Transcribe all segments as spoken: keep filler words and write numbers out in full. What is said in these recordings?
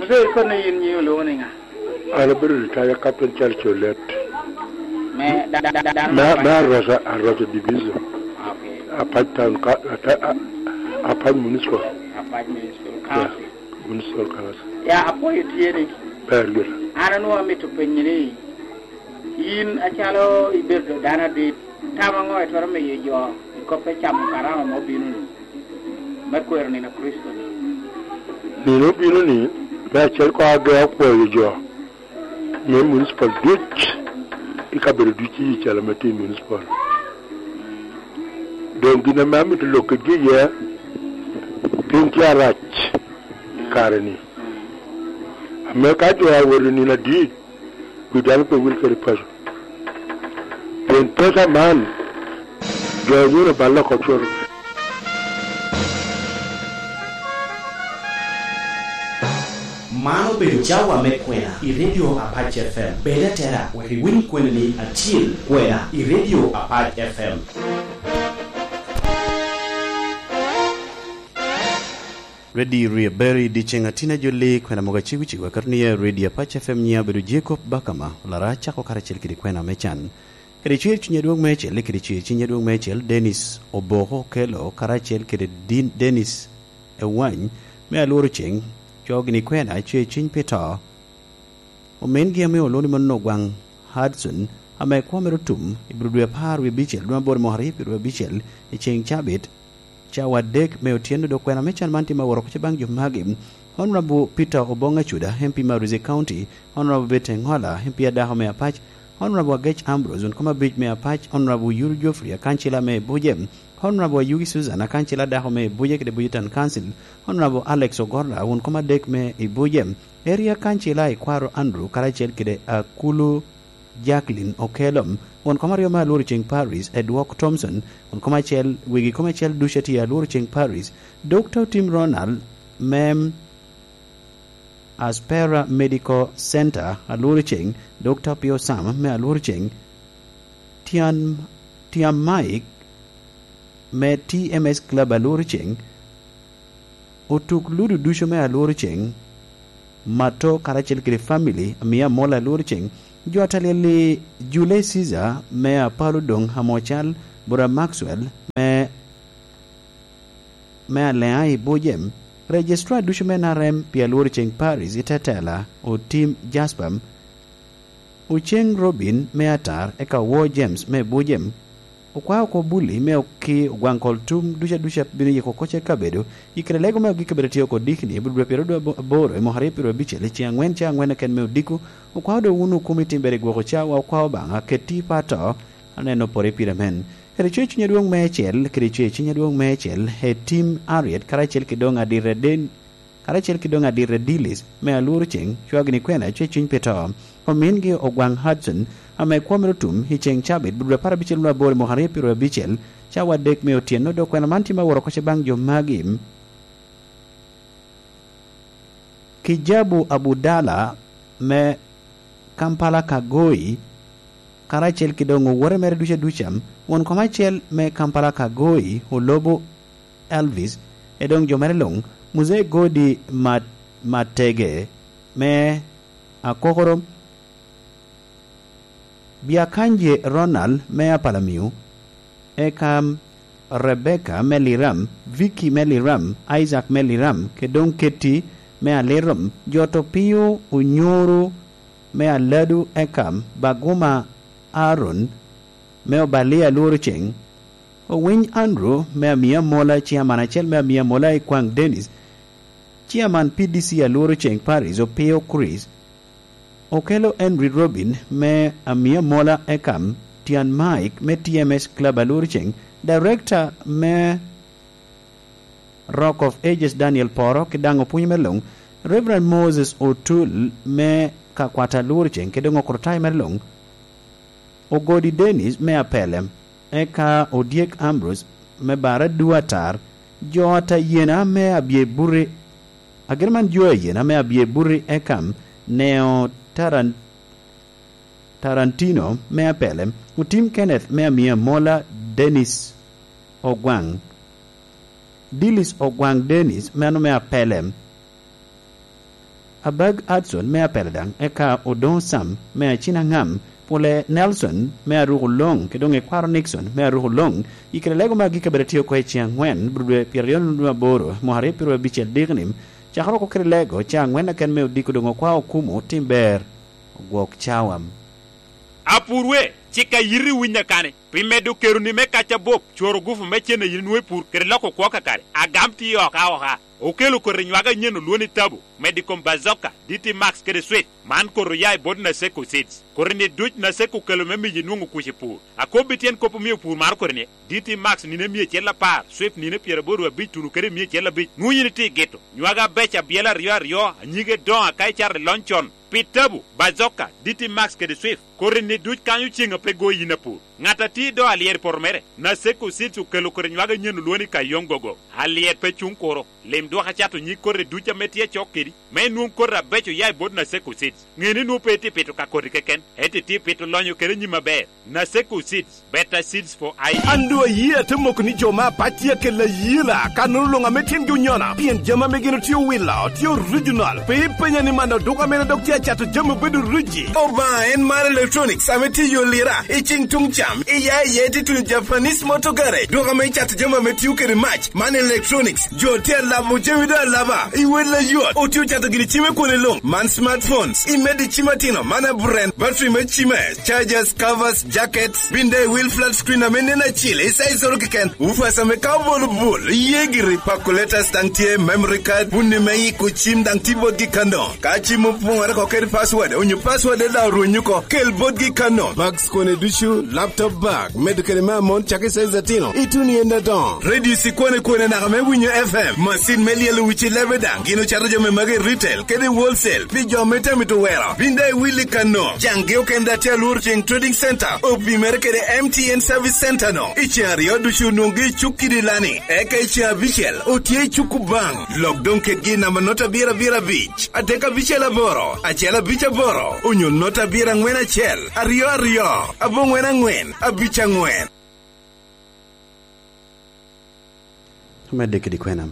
Abedo kono yin nyiŋi olwoŋo ni ŋa? An abedo ritaya Captain Charles Olet. Me da-, da-, da-, dano Me, me me Apac. Aroca, Aroca Division. Okay. Apac Town Ka-, Ata-, A-, Apac Municipal. Apac Municipal Yeah, Council. Municipal Council. Ya, apwoyo tye ni. Ber gire. An onwoŋo amito penyi ni, yin acalo ibedo dano adit, tam aŋo itwero miyo jo i kop me camo karama ma obino-ni, me kwero nino a Kricito-ni? Nino obino-ni, me acel koŋ age akwoyo jo me municipal duc, i kabedo duc i Icalo me tye i municipal. Doŋ gin ame amito lok kedgi iye, piny tye arac i kare-ni. Ame ka jo awot i nino adit, wi dano pe wil kede paco. Pien pesa man, jo nyono balle oko cwalo. Man obedo cawa me kwena i Radio Apac F M. Bed atera wek iwiny kwenani acil, kwena i Radio Apac F M. Redi Rie Berry, dyeceŋ atin ajolli, kwena mogo acego cego, akato ni ya Redi Apac F M, nyiŋa obedo Jacob Bakama, olara acako karacel kede kwena me can. Kede cwer cuny adwoŋ meicel, kede cwer cuny adwoŋ meicel, Dennis Oboko Okello, karacel kede Din-, Dennis Ewany, me Alworo Ceŋ, coo gini kwena, cwer cuny pi to. Omingi ame olwoŋo ni Monno Ogwaŋ Hudson, ame kwo mere otum i bur dwe apar wie abicel, dwe aboro mwaka aryo pyeraryo abicel, i ceŋ cabit, cawa adek me otyeno, dok kwena me can man tye ma woro oko baŋ jo magi: Honorable Peter Obong Acuda, M P me Aruzi County, Honorable Betty Engola, M P adako me Apac, Honorable Agec Ambrose, wun kom abic me Apac, Honorable Yuru Geoffrey, akancila me Buje, Honorable Ayugi Susan, akancila adako me Buje kede Buje Town Council, Honorable Alex Ogorra, wun kom adek me i Buje, Area Councilor Ikwaro Andrew, karacel kede Akulu Jacqueline Okello, won kom aryo me Alworo Ceŋ Parish, Edwok Thompson, won kom acel, wegi kom acel ducu atye Alworo Ceŋ Parish, Doctor Tim Ronald me Aspera Medical Center, Alworo Ceŋ, Doctor Pio Sam me Alworo Ceŋ, Tian, Tiam Mike me T M S Club Alworo Ceŋ, otuk ludu ducu me Alworo Ceŋ, Mato karacel kede family, Amia Mola Alworo Ceŋ, jo atalyel i Jule Caesar me Apalo Doŋ Amocal, Bura Maxwell me, me Aleŋa i Bujem, Registrar ducu me N R M pi Alworo Ceŋ Parish i Tetela, Otim Jasper, Oceng Robin me Atar, eka Owor James me Bujem, okwao oko Bully me Oki, Ogwaŋ Kol Tum, duca duca bino yiko kocce kabedo, i kare lego me ogik kabedo tye oko Dikni, i bur dwe pyeraryo aboro i mwaka aryo pyeraryo abicel, i ceŋ aŋwen, ceŋ aŋwen keken me odiko, okwao doŋ wun okumi timbere i gwoko cawa, okwao Obaŋa, keti i pato, aneno pore pire men. Kede coc cuny adwoŋ meicel, kede coc cuny adwoŋ meicel, e Tim Ariet, karacel ki doŋ Adirre Den-, karacel ki doŋ Adirre Dilis me Alworo Ceŋ, cwagini kwena, cwe cuny pi to. Omingi Ogwaŋ Hudson, ame kwo mere otum i ceŋ cabit, bur dwe apar abicel nwa aboro i mwaka aryo pyeraryo abicel, cawa adek me otyeno, dok kwena man tye ma woro kocce baŋ jo magi. Kijabu Abudala me Kampala Kagoi, karacel ki doŋ owote mere duca duca, won kom acel me Kampala Kagoi, Olobo Elvis, e doŋ jo mere luŋ, Muzee Godi Mat-, Matege me Akokoro, Biakanje Ronald me Apalamio, eka Rebecca me Liram, Vicky me Liram, Isaac me Liram, kede doŋ Ketty me Alirom, jo to pio Onyoro me Aladu, eka Baguma Aaron me Obalia Alworo Ceŋ, Owiny Andrew me Amia Mola, Chairman acel me Amia Mola i Kwaŋ Dennis, Chairman P D C Alworo Ceŋ Parish, Opio Chris, Okello Henry Robin me Amia Mola, eka Tian Mike me T M S Club Alworo Ceŋ, Director me Rock of Ages Daniel Poro, ki daŋ opwony me luŋ, Reverend Moses Otul me Kakwata Alworo Ceŋ, ki doŋ okrotayo mere luŋ, Ogodi Dennis me Apelem, eka Odyek Ambrose me Bara Duatar, jo atayena me Abyebuti, agin man jo ayena me Abyebuti, eka Neo Taran-, Tarantino me Apelem, Otim Kenneth me Amia Mola, Dennis Ogwaŋ, Dillis Ogwaŋ Dennis, meno me Apelem. Abag Adson me Apela daŋ, eka Odoŋo Sam me Acinaŋam, Pule Nelson me Aruko Loŋ, kede doŋ Ekwaro Nixon me Aruko Loŋ, i kede lego me agikki abed atye oko i ceŋ aŋwen, bur dwe pyeraryo nunu aboro, mwaka aryo pyeraryo abicel dikni, cakere oko kede lego ceŋ aŋwen aken me odiko doŋ okwao okumo tim ber, ogwok cawam. Apurwe, cik a yiti winya kani, pi medo keroni me kac abop, cworo gufu me cen a yin nwoŋo i pur, kede loko kwo kakare, agam tye oka oka. Okelo koti nywag anyen olwoni tabo, medo i kom Bazooka, D T Max kede Swift. Man koti oya i bot Naseko Seeds. Koti-ni duc Naseko okelo me miyo inwoŋo kuc i pur. Akobbi tyen kop omio pur maro koti-ni, D T Max nino emia acel apar, Swift nino pyeraboro abic tuno kede emia acel abic. Nwoŋo yin itye i gito. Nywag abeco abyela aryo aryo, anyige doŋo aka icato i lony con. Pi tabo, Bazooka, D T Max kede Swift, koti-ni duc kanyo ceŋ a pe go yin apur. Ŋat a tye i do alyet i poto mere, Naseko Seeds okelo koti nywag anyen olwoni Kayong Gogo. Alyet pe cuŋ kuro. Lim dwok acato nyig koti duc ame tye acok kedi, me inwoŋ koti abeco oya i bot Naseko Seeds. Ŋe ni nwoŋo pe itye pito ka koti keken, ento itye pito lonyo kede nyim aber. Naseko Seeds, better seeds for I E. An doŋ ayie ate moko ni jo me Apac tye akelo ayela, kannono luŋ ame tyengi onyono, pien jami ame gin otye owilo tye original. Pe ipenya ni man oduka mene dok tye acato jami obedo riji. Obaŋa en mar Electronics ame tye i Olira, i ceng tuŋ cam, i ya i ya itye tuno Japanese Motor Garage. Duka ame icato jami ame tio kede mac, man Electronics. Jo tye alabo jami doŋ alaba, i wel ayot. Otye ocato gini cime kwone luŋ, man smartphones, imedo i cim atino, man aburen, battery me cime, chargers, covers, jackets, bin daŋ i wil flat screen ame nen acil, i size oro keken, woofers ame ka obolo bul, iye giri, calculators daŋ tye, memory card, bunni me yiko cim daŋ tye botgi kano. Ka cim opoŋore oko kede password, onyo password daŋ orwenyo oko, kel botgi kano. Bags kone ducu, laptop bag, medo kede me amon cak i size atino, ituno i en adoŋo. Radio cikwane kwane naka me winyo F M, macin me lyelo wic i lebe daŋ, gin ocato jami magi i retail, kede i wholesale, pi jo ame tye amito wero. Bin daŋ iwil i kano. Caŋgi okende daŋ tye alworo ceŋ Trading Center, opimere kede M T N Service Center no. I ceŋ aryo ducu onwoŋgi i cuk kidi lani. Eka i ceŋ abicel, otye i cuk Kubaŋ. Lok doŋ kedgi i namba nota abiro abiro abic, adek abicel aboro, acel abic aboro, onyo nota abiro aŋwen acel, aryo aryo, aboŋwen aŋwen, abic aŋwen. Omedde kede kwena.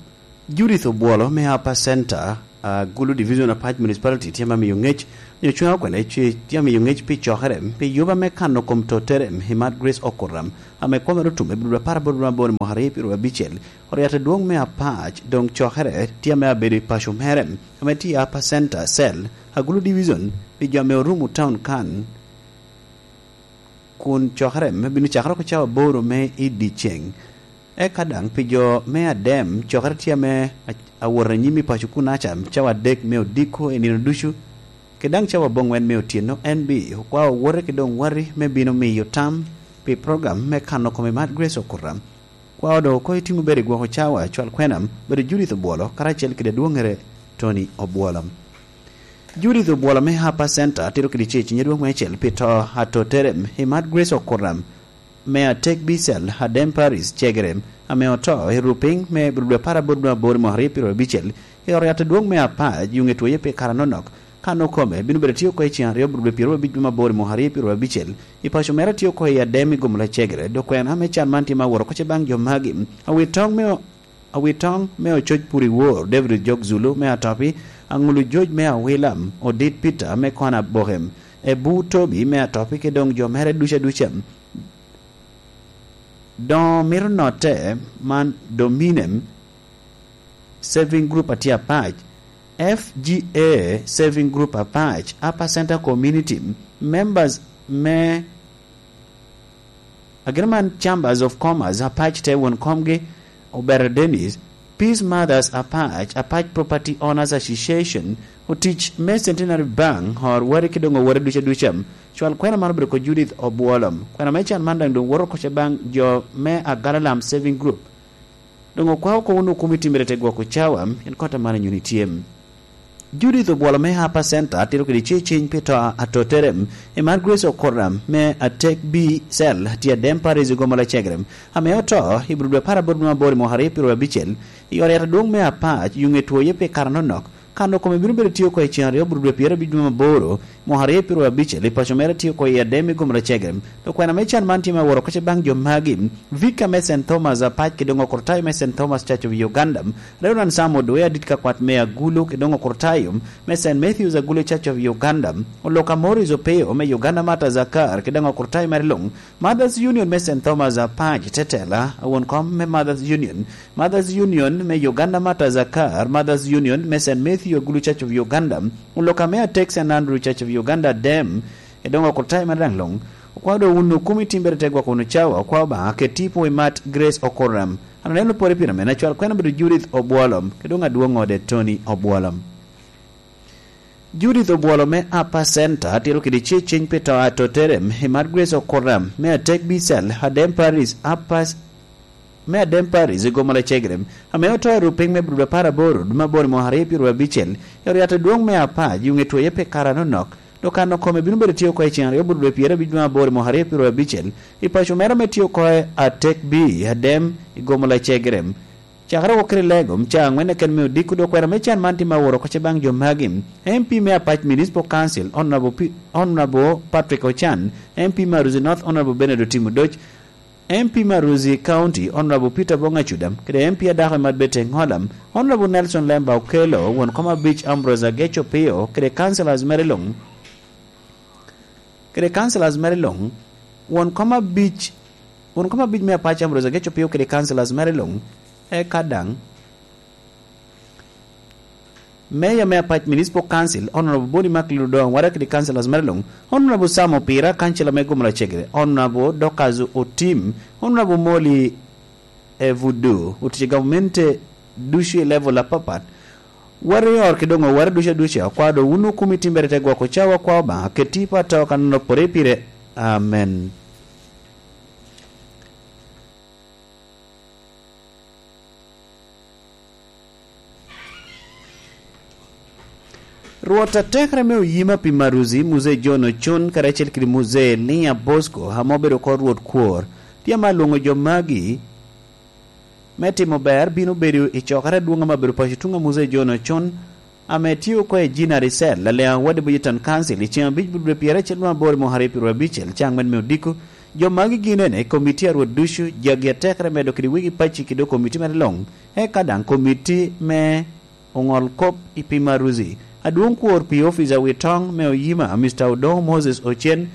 Judith Obwolo me Upper Center, Agulu Division, Apac Municipality, tye ame miyo ŋec, nyo cweno kwene, tye, tye amiyo ŋec pi cokere, pi yuba me kano kom totere, i Mad Grace Okuram, ame kwame otume i bur apar aboro aboro mwaka aryo pyeraryo abicel. Oriat adwoŋ me Apac, doŋ cokere, tye ame abedo i paco mere, ame tye i Upper Center Cell, Agulu Division, pi jo ame orumo taun kan, kun cokere me bino cakere oko cawa aboro me i dyeceŋ. Eka daŋ pi jo me Adem, cokere tye ame a-, awot anyim i paco kunaca, cawa adek me odiko i nino ducu, kede daŋ cawa aboŋwen me otyeno. En bi okwao owote ki doŋ wati me bino miyo tam pi program me kano kome Mad Grace Okuram. Kwao doŋ oko itiŋo bedo i gwoko cawa, cwal kwena, bedo Judith Obwolo, karacel kede adwoŋŋere Tony Obwolo. Judith Obwolo me Upper Center tito kede cec i nyadwok me acel pi to atotere i Mad Grace Okuram me Atek Bicel, Adem Paris, Cegere, ame oto i rupiny me dwe apar aboro dwe aboro mwaka aryo pyeraryo abicel, i ot yat adwoŋ me Apac, yuŋ etwoye pi kare anonok. Kan okome bino bedo tye oko i ceŋ aryo bur dwe pyeraryo abic dwe me aboro mwaka aryo pyeraryo abicel, i paco mere tye oko i Adem i Gomola Cegere, dok kwena me can man tye ma aworo oko ce baŋ jo magi. Awit toŋ me o-, Awitoŋ me ococ pur i wor, David Ojok Zulu me Atopi, Aŋulu Joc me Awilam, Odit Peter me Kona Bokem, Ebu Tobi me Atopi, kede doŋ jo mere duca duca. Doŋ mito notte man Dominem Saving Group atye Apac, F G A Saving Group Apac, Upper Center Community, members me Agin man Chambers of Commerce Apac te won komgi, Obere Dennis, Peace Mothers Apac, Apac Property Owners Association, otic me Centenary Bank, or wari ki doŋ owore duca duca. Cwal kwena man obedo ko Judith Obwolo. Kwena me can man daŋ doŋ woto oko ce baŋ jo me Agalalam Saving Group. Doŋ okwao oko wunu okumi timere te gwoko cawa, en kota man anyuni tye. Judith Obwolo me Upper Center tito kede ce ciny pi to atotere, i mar Grace Okoram me Atek B Cell tye Adem Paris i Gomola Cegere, ame oto i bur dwe apar aboro dwe aboro i mwaka aryo pyeraryo abicel, i ot yat adwoŋ me Apac, yuŋ etwoye pi kare anonok, Kano kome bino bedo tye oko i cen aryo bur dwe pyerabicel dwe me aboro, mwaka aryo pyeraryo abicel, i paco mere tye oko i Adem i gomoro Cegere. Dok kwena me can man tye me aworo kocce baŋ jo magi: Vika me Saint Thomas Apac, ki doŋ okurtayo me Saint Thomas Church of Uganda, Reverend Sam Odwe, adit ka kwat me Agulu, ki doŋ okurtayo me Saint Matthew's Agulu Church of Uganda, Oloka Morris Opeo me Uganda Martyrs Akar, ki doŋ okurtayo mere luŋ, Mothers Union me Saint Thomas Apac Tetela, awon kom me Mothers Union, Mothers Union me Uganda Martyrs Akar, Mothers Union me Saint Matthew Agulu Church of Uganda, Oloka me Atek Saint Andrew Church of Uganda Dem, ki doŋ okurtayo mere daŋ luŋ. Okwao doŋ wun okumi timbere te gwoko wunu cawa, okwao Obaŋa ket tipo i mat Grace Okoram. An aneno pore pire mene, acwal kwena bedo Judith Obwolom, ki doŋ adwoŋ ode Tony Obwolom. Judith Obwolo me Upper Center tito kede ceceny pi to atotere i mat Grace Okoram me Atek Bicel, Adem Paris, Upper, me Adem Paris i gomoro Cegere, ame oto i rupiny me bur apar aboro dwe me aboro mwaka aryo pyeraryo abicel, i oryato dwoŋ me Apac, i ŋe twoye pi kare anonok. Dok kano kome bino bedo tye oko i cen aryo bur dwe pyerabicel dwe me aboro mwaka aryo pyeraryo abicel, i paco mere ame tye oko i Atek B, Adem, i gomoro Cegere. Cakere oko kede lego, ca aŋwen keken me odiko, dok kwena me can man tye me aworo kocce baŋ jo magi: M P me Apac Municipal Council, Honorable Pi-, Honorable Patrick Ochan, M P me Aruzi North, Honorable Bernard Otimo Doc, M P me Aruzi County, Honorable Peter Bong Acuda, kede M P a dako i Madbete Ŋola, Honorable Nelson Lemba Okello, won kom abic Ambrose Ageco Pio, kede councillors mere luŋ. Kede councillors mere luŋ, won kom abic, won kom abic me Apac Ambrose Ageco Pio kede councillors mere luŋ, eka daŋ Mayor me Apac Municipal Council, Honorable Boni Macklin Odongo Wara kede councillors mere luŋ, Honorable Sam Opira, councillor me Gomoro Cegere, Honorable Dorcas Otim, Honorable Molly Evudu, otic i gamente ducu i level apapat. Warrior ki doŋ oware ducu aduca, okwao doŋ wun okumi timbere te gwoko cawa, okwao Obaŋa ket tipo atoo kan opore pire. Amen. Rwot atekere me oyima pi Maruzi, Muzee John Ocon, karacel kede Muzee Elia Bosco, ame obedo oko Rwot Kwor, tye ame alwoŋo jo magi me timo ber bino bedo i cokere adwoŋ ame obedo paco tuŋ a Muzee John Ocon, ame tye oko i Jinari Cell, Laleŋ Awadi Bujitan Council, i ceŋ abic bur dwe pyeracel dwe aboro i mwaka aryo pyeraryo abicel, caŋ men me odiko. Jo magi gin ene, komiti a Rwot ducu, jagi atekere medo kede wegi paci kede komiti mere luŋ, eka daŋ komiti me oŋol kop i pi Maruzi. Adwoŋ kwor pi ofica wi toŋ me oyima, Mister Odongo Moses Ocen,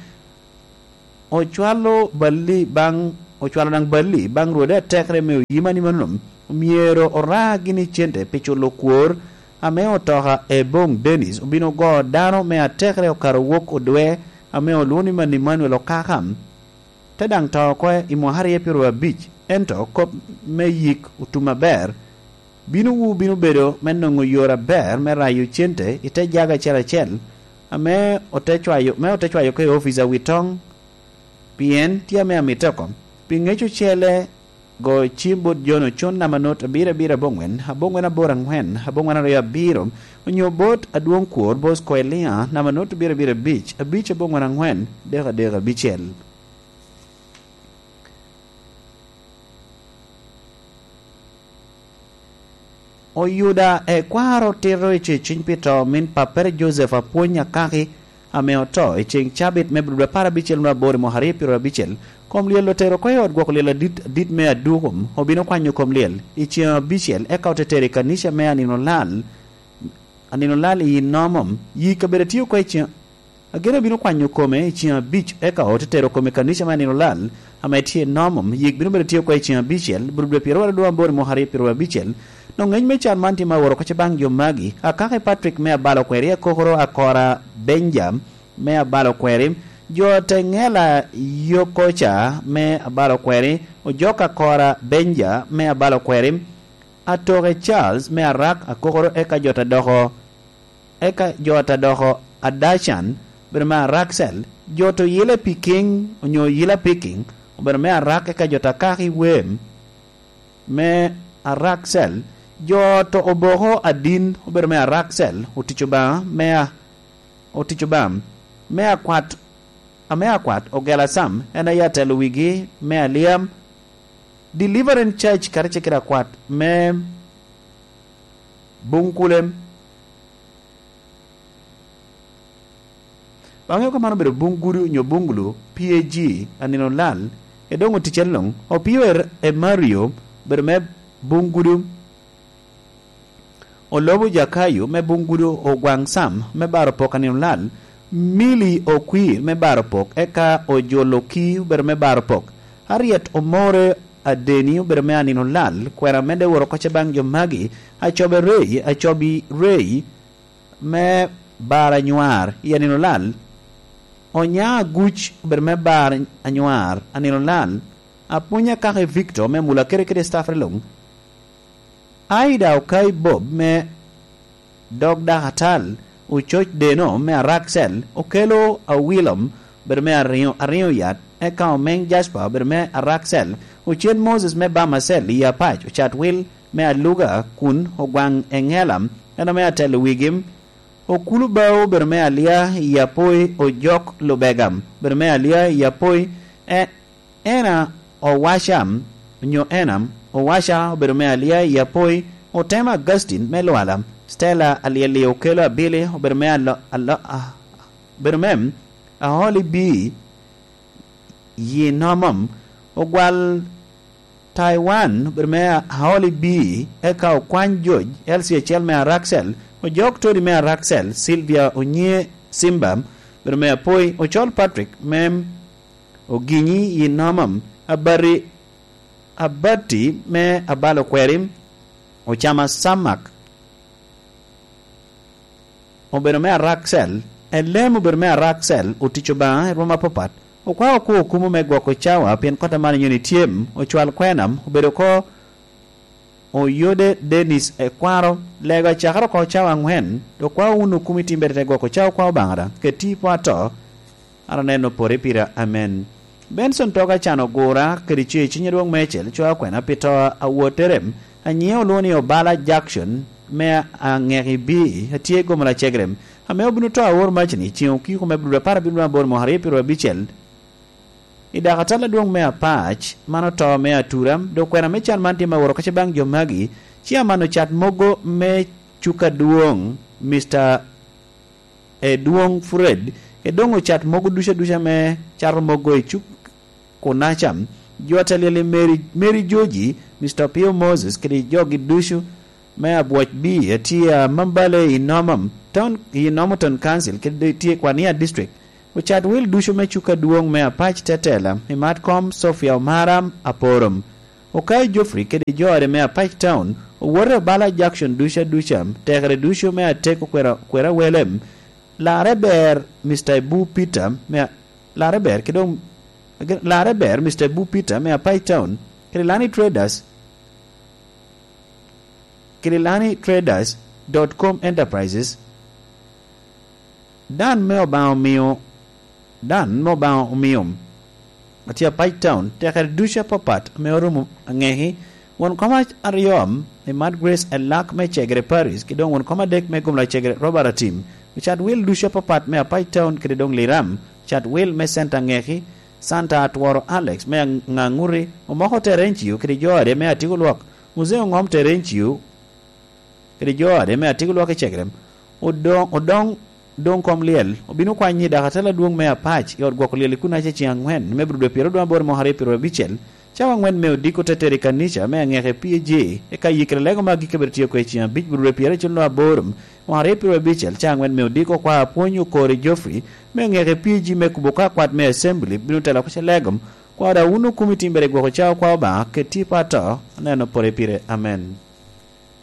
ocwalo balli baŋ, ocwalo daŋ balli baŋ rwode atekere me oyima ni mano myero ora gini cente pi culo kwor ame otoka Ebong Dennis obino ogo dano me atekere okato wok odwe ame olwoŋo ni Mani Manuel Okaka. Te daŋ to oko i mwaka aryo pyeraryo abic, ento kop me yik otum aber, bino wu bino bedo me noŋo yore aber me rayo cente i te jaga acel acel, ame ote cwayo, me ote cwayo oko i ofica wi toŋ, pien tye ame amitte oko. Pi ŋec ocele, go cim bot John Ocon namba not abiro abiro aboŋwen, aboŋwen aboro aŋwen, aboŋwen aryo abiro, onyo bot adwoŋ kwor Bosco Elia namba not abiro abiro abic, abic aboŋwen aŋwen, dek adek abicel. Oyuda ekwaro tito i ceciny pi to min pappere Joseph Apwony Akaki, ame oto i ceŋ cabit me bur dwe apar abicel nwa aboro i mwaka aryo pyeraryo abicel. Kom lyel otero oko i ot gwoko lyel adit, adit me Adukum, obino kwanyo kom lyel i ceŋ abicel, eka ote tero i kanica me Anino Lal, Anino Lal i Nomom. Yi kabedo tye oko i ceŋ Ageno bino kwanyo kome i ceŋ abic, eka ote tero kome i kanica me Anino Lal ame tye i Nomom. Yik bino bedo tye oko i ceŋ abicel, bur dwe pyeraryo aryo dwe aboro i mwaka aryo pyeraryo abicel. Doŋ ŋec me can man tye me aworo kocce baŋ jo magi: Akaki Patrick me Abalo Kweri, Akokoro Akora Benja me Abalo Kweri, jo Teŋela Yokoca me Abalo Kweri, Ojok Akora Benja me Abalo Kweri, Atoke Charles me Arak, Akokoro, eka jo ta doko eka jo ta doko Adacan, obedo me Araksel, jo to Yila Piking, onyo Yila Piking, obedo me Arak, eka jo ta Kaki Wem me Araksel, jo to Oboko Adin, obedo me Araksel, otic Obaŋa me a-, otic Obaŋa me akwat, ame akwat, Ogela Sam, en aye atelo wigi me Aliam, Deliverance Church, karacel kede akwat me Bunkulem, Aŋeo ka man obedo Bungudu onyo Bungulu, P A G, anino lal, e doŋ oticere luŋ. Opio e, e Mario, obedo me Bungudu. Olobo Jakayo me Bungudu, Ogwaŋ Sam me Baropok anino lal, Mili Okwir me Baropok, eka Ojolo Ki obedo me Baropok. Harriet Omore Adeni obedo me anino lal, kwena medde woro oko ce baŋ jo magi, Acobe Rei, Acobi Rei, me bar anywar i anino lal. Onya Aguc obedo me bar anywar anino lal. Apwony Akaki Victor me Mula kede kede staff luŋ. Aida Okai Bob me dog dak atal. Ococ Deno me Araksel, Okelo Awilom obedo me ariŋo, ariŋo yat, eka Omeŋ Jasper obedo me Araksel, Ocen Moses me Bamacel i Apac, Ocat Wil me Aluga kun Ogwaŋ Eŋela, en ame atelo wigi. Okulu Bao obedo me Alia i Apoi, Ojok Lubegam obedo me Alia i Apoi, e-, Ena Owaca, onyo Enam Owaca obedo me Alia i Apoi, Otema Augustine me Lwala, Stella Alyeli Okelo Abili obedo me Alo-, Alo-, a-, obedo me Aholi Bii, Yinomom, Ogwal Taiwan obedo me Aholi Bii, eka Okwany George, Elsie acel me Araksel, Ojok Tony me Araksel, Sylvia Onyie Simba obedo me Apoi, Ocol Patrick me Oginyi Yinomom, Abari, Abati me Abalo Kweri, Ocama Samak obedo me Araksel, Elem obedo me Araksel, otic Obaŋa i rwom apapat, okwao okwo okumo me gwoko cawa, pien kot aman nyoni tyem, ocwal kwena, obedo oko Oyode Dennis Ekwaro, lego acakere oko cawa aŋwen, dok kwao wun okumi timbere te gwoko cawa okwa Obaŋa daŋ, keti i po ato, an aneno pore pira, amen. Benson Toga can ogura, kede ce ciny adwoŋ mecel, cwa kwena pi to a wottere, anyiŋe olwoŋo ni Obala Jackson, me aŋeki bi, atye i gomo lacegere, ame obino to awor macni, ceŋ okiko me bludo apar abino aboro mwaka aryo pyeraryo abicel, I dakatal adwoŋ me Apac, man oto me atura, dok kwena me can man tye me woro kaca baŋ jo magi, ci aman ocat mogo me cuk adwoŋ, Mister Edwoŋ Fred, Edwoŋ ocat mogo ducu aduca me cato mogo i cuk Kunaca, jo atelel i Mary, Mary Joji, Mister Pio Moses, kede jogi ducu, me Abwoc B, atye a Mambale i Nomom Town, i Nomo Town Council, kede tye i Kwania District. Ocat wil ducu me cuk adwoŋ me Apac Tetela, i Matkom Sofia Omara Aporom, Okayo Geoffrey kede jo ode me Apac Town, owote Obala Jackson ducu aduca, tekere ducu me Ateko Kwera, Kwera Welem, Larre ber Mister Ibu Peter me, Larre ber, kede om-, Larre ber Mister Ibu Peter me Apac Town, kede Lani Traders, kede Lani Traders dot com Enterprises, Dan me Obaŋa omio, Dan me Obaŋa omio, atye Apac Town, tekere ducu apapat ame orumo aŋeki, won kom aryo, Imat Grace Elak me Cegere Parish, kede doŋ won kom adek me Gomla Cegere Robert Atim, ocat wil ducu apapat me Apac Town, kede doŋ Liram, ocat wil me Center aŋeki, Santa Atworo Alex me Aŋ-, Aŋaŋuti, omoko Terencio kede jo ade me Atiko Lwak, Muzee Oŋom Terencio, kede jo ade me Atiko Lwak i Cegerem, odoŋ, odoŋ, doŋ kom lyel, obino kwanyo ni dakatal adwoŋ me Apac i ot gwoko lyel i Kunaca ceŋ aŋwen me Abril dwe pyeraryo aboro mwaka aryo pyeraryo abicel, cawa aŋwen me odiko te tero i kanica me aŋeke P A J, eka yikere lego me agikki bedo tye oko i ceŋ abic Abril dwe pyeraryo acel aboro mwaka aryo pyeraryo abicel, cawa aŋwen me odiko kwa apwony Okori Geoffrey me aŋeke P A G me kubo ka kwat me Assembly bino telo oko ce legom, kwa da wun okumi timbere gwoko cawa kwa Obaŋa, keti pa to, aneno pore pire. Amen.